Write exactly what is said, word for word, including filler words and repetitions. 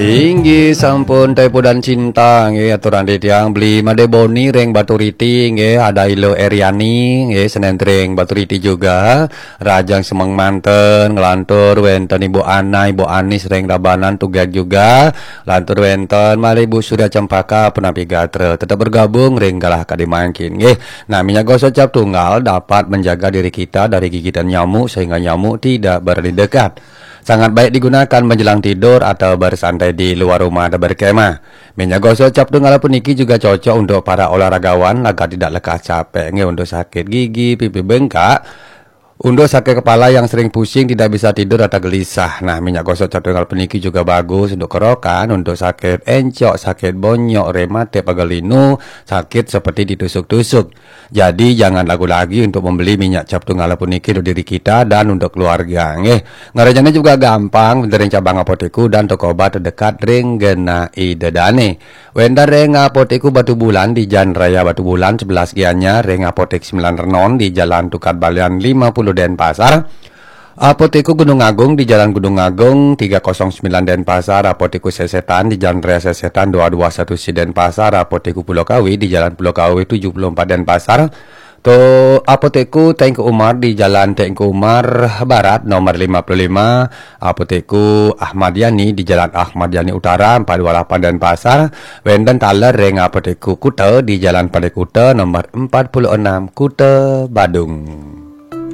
Inggih sampun, Teh Pudan Cinta nggih, aturang titiang, Beli Made Boni ring Baturiti nggih, Ada Ilo Eriani nggih, Senentring Baturiti juga, Rajang Semeng Manten, nglantur wenten Ibu Ana, Ibu Anis ring Rabanan, tugeg juga, lantur wenten malih Bu Surya Cempaka, punapi gatra, tetep bergabung ring galah kadi mangkin nggih. Nah, minyak gosok cap tunggal dapat menjaga diri kita dari gigitan nyamuk sehingga nyamuk tidak berani dekat. Sangat baik digunakan menjelang tidur atau bersantai di luar rumah atau berkemah. Minyak gosok cap tunggal puniki juga cocok untuk para olahragawan agar tidak lekas capek nggih, untuk sakit gigi, pipi bengkak, untuk sakit kepala yang sering pusing, tidak bisa tidur atau gelisah. Nah, minyak gosok cap tunggal puniki juga bagus untuk kerokan, untuk sakit encok, sakit bonyok, rematik, pegal linu, sakit seperti ditusuk-tusuk. Jadi jangan ragu lagi untuk membeli minyak cap tunggal puniki untuk diri kita dan untuk keluarga nggih. Ngerjainnya juga gampang, wenten ring cabang apotek dan toko obat terdekat ring genah ida dane. Wenten ring Apotek Batubulan di Jalan Raya Batubulan sebelas Gianyar, ring Apotek Sembilan Renon di Jalan Tukad Balian lima puluh Denpasar. Apotek Gunung Agung di Jalan Gunung Agung tiga kosong sembilan Denpasar, Apotek Sesetan di Jalan Raya Sesetan dua dua satu C Denpasar, Apotek Pulau Kawi di Jalan Pulau Kawi tujuh puluh empat Denpasar. To Apotek Teuku Umar di Jalan Teuku Umar Barat nomor lima puluh lima, Apotek Ahmad Yani di Jalan Ahmad Yani Utara empat dua lapan Denpasar, wenten taler ring Apotek Kuta di Jalan Pantai Kuta nomor empat puluh enam, Kuta Badung.